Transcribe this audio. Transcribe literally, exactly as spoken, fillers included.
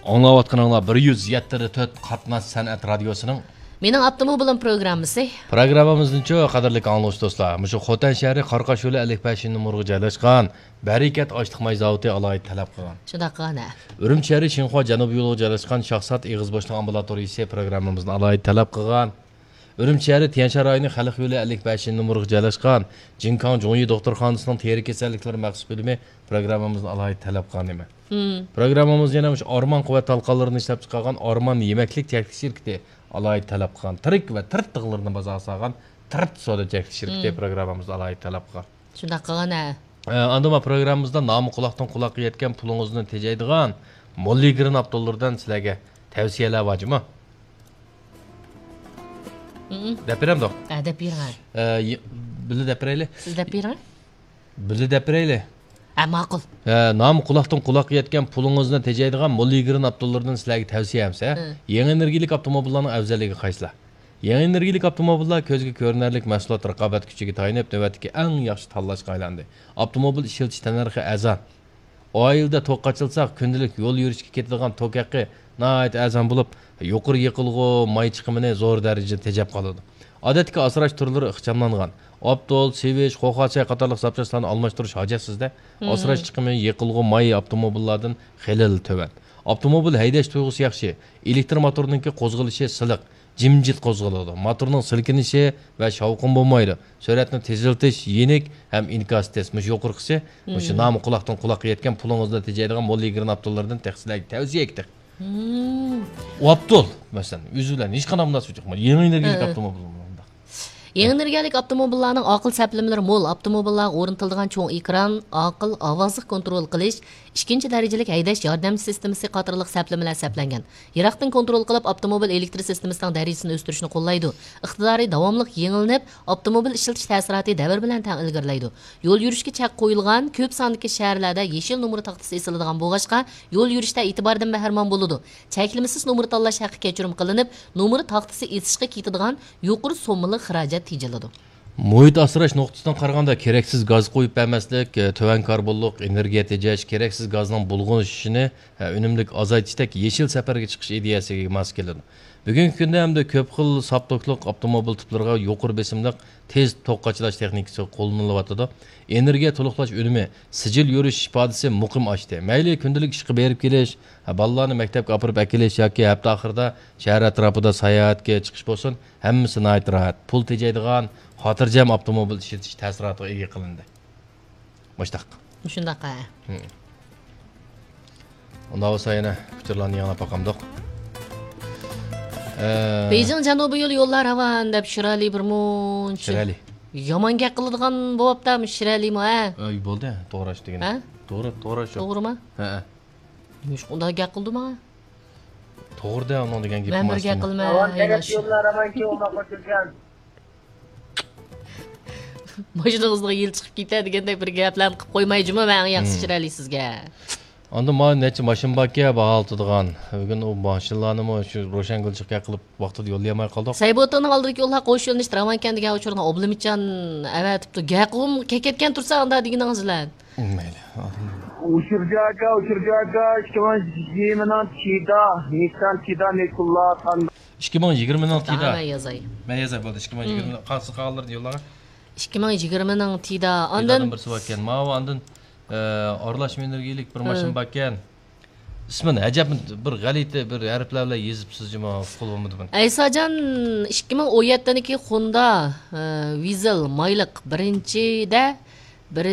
ئاڭلاۋاتقىنىڭلار بىر يۈز يەتتە تۆت قاتناش سەنئەت رادىيوسىنىڭ مېنىڭ ئاپتوموبىلىم پروگراممىسى. پروگراممىمىزنىچۇ، قەدىرلىك ئاڭلىغۇچى دوستلار، مۇشۇ خوتەن شەھىرى قاراقاشيولى ئەللىك بەشىنچى نومۇرغا جايلاشقان بەرىكەت ئاشلىق ماي زاۋۇتى ئالاھىدە تەلەپ قىلغان. شۇنداق قىلغان ھە. ئۈرۈمچى شەھىرى شىنخۇا جەنۇبىي يولىغا جايلاشقان شاھزات ئېغىز بوشلۇق ئامبۇلاتورىيىسى پروگراممىمىزنى ئالاھىدە تەلەپ قىلغان. ئۈرۈمچى شەھىرى تيەنشان رايونى خەلق يولى ئەللىك بەشىنچى نومۇرغا جايلاشقان جىنكاڭ جۇڭيى دوختۇرخانىسىنىڭ تېرە كېسەللىكلىرى مەخسۇس بۆلۈمى پروگراممىمىزنى ئالاھىدە تەلەپ قىلغان ئىدى. مم. پروگراممىمىز يەنە مۇشۇ ئارمان قۇۋۋەت تالقانلىرىنى ئىشلەپچىقارغان ئارمان يېمەكلىك چەكلىك شىركىتى ئالاھىدە تەلەپ قىلغان. تىرىك ۋە تىرت تىغلىرىنى بازارغا سالغان تىرت سودا چەكلىك شىركىتى مم. پروگراممىمىزنى ئالاھىدە تەلەپ قىلغان. شۇنداق قىلغان ھە. ئە، ئاندىن ما پروگراممىمىزدا نامى قۇلاقتىن قۇلاققا يەتكەن پۇلىڭىزنى تېجەيدىغان موللىگرىن ئاپتوللىرىدىن سىلەرگە تەۋسىيەلەر بارجۇمۇ؟ مم. دەپ بېرەمدۇق؟ ھە، دەپ بېرىڭ. ئە، ي-، بىللە دەپ بېرەيلى. سىز دەپ بېرىڭ. بىللە دەپ بېرەيلى. ھە، ماقۇل. ھە، نامى قۇلاقتىن قۇلاققا يەتكەن پۇلىڭىزنى تېجەيدىغان موللىگرىن ئاپتوللىرىدىن سىلەرگە تەۋسىيەم سە، ھە. يېڭى ئېنېرگىيەلىك ئاپتوموبىللارنىڭ ئەۋزەللىكى قايسىلار؟ يېڭى ئېنېرگىيەلىك ئاپتوموبىللار كۆزگە كۆرۈنەرلىك مەھسۇلات رىقابەت كۈچىگە تايىنىپ، نۆۋەتتىكى ئەڭ ياخشى تاللاشقا ئايلاندى. ئاپتوموبىل ئىشلىتىش تەننەرخى ئەرزان. ئائىلىدە توك قاچىلىساق، كۈندىلىك يول يۈرۈشكە كېتىدىغان توك ھەققى ناھايىتى ئەرزان بولۇپ، يۇقىرى يېقىلغۇ ماي چىقىمىنى زور دەرىجىدە تېجەپ قالىدۇ. ئادەتتىكى ئاسراش تۈرلىرى ئىخچاملانغان. ئاپتول، سىۋىچ، خوخاچاي قاتارلىق زاپچاسلارنى ئالماشتۇرۇش ھاجەتسىز-دە، مم. ئاسراش چىقىمى يېقىلغۇ ماي ئاپتوموبىللاردىن خېلىلا تۆۋەن. ئاپتوموبىل ھەيدەش تۇيغۇسى ياخشى، ئېلېكتر موتورنىڭكى قوزغىلىشى سىلىق، جىمجىت قوزغىلىدۇ. موتورنىڭ سىلكىنىشى ۋە شاۋقۇن بولمايدۇ. سۈرئەتنى تېزلىتىش يېنىك ھەم ئىنكاسى تېز. مۇشۇ يۇقىرىقىسى، مۇشۇ مم. نامى قۇلاقتىن قۇلاققا يەتكەن پۇلىڭىزنى تېجەيدىغان موللىگرىن ئاپتوللىرىدىن تېخى سىلەرگە تەۋسىيە ئېيتتۇق. مم. ئۇ ئاپتول، مەسىلەن، ئۆزى بىلەن ھېچقانداق مۇناسىۋىتى يوق. يېڭى ئېنېرگىيەلىك ھە. ئاپتوموبىل بۇنداق. يېڭى ئېنېرگىيەلىك ئاپتوموبىللارنىڭ ئاقىل سەپلىمىلىرى مول، ئاپتوموبىللارغا ئورنىتىلىدىغان چوڭ ئېكران، ئاقىل ئاۋازلىق كونترول قىلىش، ئىككىنچى دەرىجىلىك ھەيدەش ياردەم سىستېمىسى قاتارلىق سەپلىمىلەر سەپلەنگەن. يىراقتىن كونترول قىلىپ، ئاپتوموبىل ئېلېكتر سىستېمىسىنىڭ دەرىجىسىنى ئۆستۈرۈشنى قوللايدۇ. ئىقتىدارى داۋاملىق يېڭىلىنىپ، ئاپتوموبىل ئىشلىتىش تەسىراتى دەۋر بىلەن تەڭ ئىلگىرىلەيدۇ. يول يۈرۈشكە چەك قويۇلغان كۆپ ساندىكى شەھەرلەردە يېشىل نومۇر تاختىسى ئېسىلىدىغان بولغاچقا، يول يۈرۈشتە ئېتىباردىن بەھرىمەن بولىدۇ. چەكلىمىسىز نومۇر تاللاش ھەققى كەچۈرۈم قىلىنىپ، نومۇر تاختىسى ئېسىشقا كېتىدىغان يۇقىرى سوممىلىق خىراجەت تېجىلىدۇ. مۇھىت ئاسراش نۇقتىسىدىن قارىغاندا، كېرەكسىز گاز قويۇپ بەرمەسلىك، تۆۋەن كاربونلۇق ئېنېرگىيە تېجەش، كېرەكسىز گازنىڭ بۇلغىنىشىنى ئۈنۈملۈك ئازايتىشتەك يېشىل سەپەرگە چىقىش ئىدىيەسىگە ماس كېلىدۇ. بۈگۈنكى كۈندە ھەمدە كۆپ خىل ساپ توكلۇق ئاپتوموبىل تىپلىرىغا يۇقىرى بېسىملىق تېز توك قاچىلاش تېخنىكىسى قوللىنىلىۋاتىدۇ. ئېنېرگىيە تولۇقلاش ئۈنۈمى، سىجىل يۈرۈش ئىپادىسى مۇقىم ئاشتى. مەيلى كۈندىلىك ئىشقا بېرىپ كېلىش، بالىلارنى مەكتەپكە ئاپىرىپ ئەكېلىش ياكى ھەپتە ئاخىرىدا شەھەر ئەتراپىدا ساياھەتكە چىقىش بولسۇن، ھەممىسى ناھايىتى راھەت. پۇل تېجەيدىغان، خاتىرجەم ئاپتوموبىل ئىشلىتىش تەسىراتىغا ئىگە قىلىندى. مۇشتاق. مۇشۇنداق، ھە. ھىم. ئۇنداق بولسا يەنە ئۇچۇرلارنى ياڭلاپ باقامدۇق. ئە، بېيجىڭ جەنۇبىي يول يوللار راۋان دەپ شىرئەلى بىر مۇنچە شىرئەلى. يامان گەپ قىلىدىغان بوپتا، مۇشۇ شىرئەلىمۇ، ھە؟ ئەي، بولدى، توغرا ئىش دېگىنى. ھە؟ توغرا، توغرا شۇ. توغرىما؟ ھە. نېمىشقا ئۇنداق گەپ قىلدى ماڭا؟ توغرا دە، ئۇنىڭ دېگەن گېپى مەن بىر گەپ قىلماي، راۋان تەرەپ يوللار راۋانكى ئۇنداق قوشۇلغان. ماشىنىڭىزنىڭ يىلى چىقىپ كېتە دېگەندەك بىر گەپلەرنى قىلىپ قويماي جۇمۇ، مەن ئەڭ ياخشى مم. چىرايلى سىزگە. ئاندىن مانا نەچچە ماشىنا باركەن، باھا ئالتىدىغان. بۈگۈن ئۇ ماشىنىلارنىمۇ شۇ روشەنگۈلچىلىك قىلىپ ۋاقتىدا يوللىيالماي قالدۇق. سەيبۇتتىننىڭ ئالدىدىكى يوللار قوش يۆنىلىشتە راۋانكەن دېگەن ئۇچۇرنى ئابلىمىتجان ئەۋەتىپتۇ. گەقۇم كەتكەن تۇرسا ئاندا دېگىنىڭىز بىلەن. مەيلى. ئۇچۇر جاكا، ئۇچۇر جاكا، ئىككى مىڭ يىگىرمىنىڭ تىدا، نىسسان تىدا، نېكۇللا، تاندا. ئىككى مىڭ يىگىرمىنىڭ تىدا. مەن يازاي. مەن يازاي، بولدى. ئىككى مىڭ يىگىرمە. قالسا قالغانلىرىنى يوللارغا. ئىككى مىڭ يىگىرمىنىڭ تىدا. ئاندىن تىدادىن بىرسى باركەن. ماۋۇ ئاندىن، ئە، ئارىلاشما ئېنېرگىيەلىك بىر ماشىنا باركەن. ئىسمىنى ئەجەب بىر غەلىتە بىر ھەرپلەر بىلەن يېزىپسىز جۇمۇ، قۇل بولمىدى بۇنى. ئەيساجان، ئىككى مىڭ ئون يەتتىنىڭكى خوندا، ئە، ۋىزېل مايلىق بىرىنچىدە بىر